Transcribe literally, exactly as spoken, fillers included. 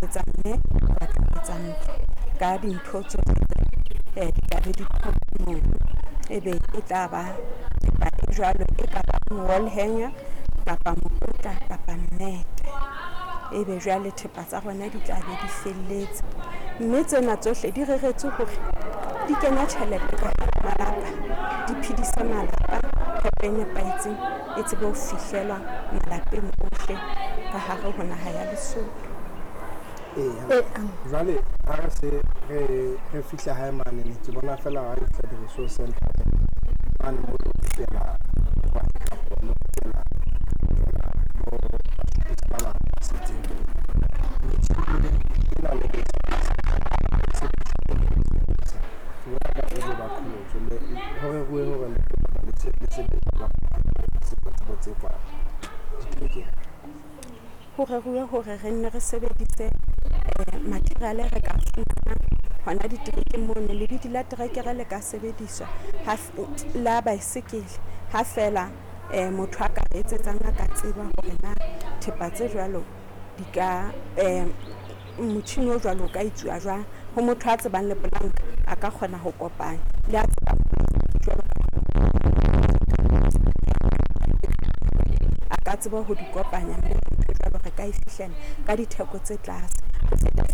etsa mme, o batla ho etsa ntlo ka dintho tsohle tse di tla be di mono. Ebe e tla ba thepa e jwalo e ka bang wall hanger kapa mokotla kapa mmete. Ebe jwale thepa tsa rona di tla be di felletse. Mme tsena tsohle di reretswe hore di kenya tjhelete ka hara malapa, di phedise malapa, phepo e nepahetseng e tsebe ho fihlelwa malapeng ohle ka hare ho naha ya Lesotho. Ee, jwale ha re se re re fihla hae mane ne ke bona fela ha re fihla di-resource center mane mo le rutela kapo le rutela bo basebetsi ba bang ba setseng metjhini ena le ke bona ka e ba qholotso le ho reruwe hore le le se le sebetsa tsebo tse kwa diterekeng. Ho reruwe hore re nne re sebedise material e re ka fumanang hona diterekeng mono. Lebidi la terekere le ka sebediswa la baesekele ha feela motho a ka re etsetsang a ka tseba hore na thepa tse jwalo di ka motjhini o jwalo o ka etsuwa jwang. Ho motho a tsebang lepolanka a ka kgona ho kopanya le a tsebang jwalo a ka tseba ho di kopanya mme ntho e jwalo re ka e fihlela ka ditheko tse tlase. Ho feta.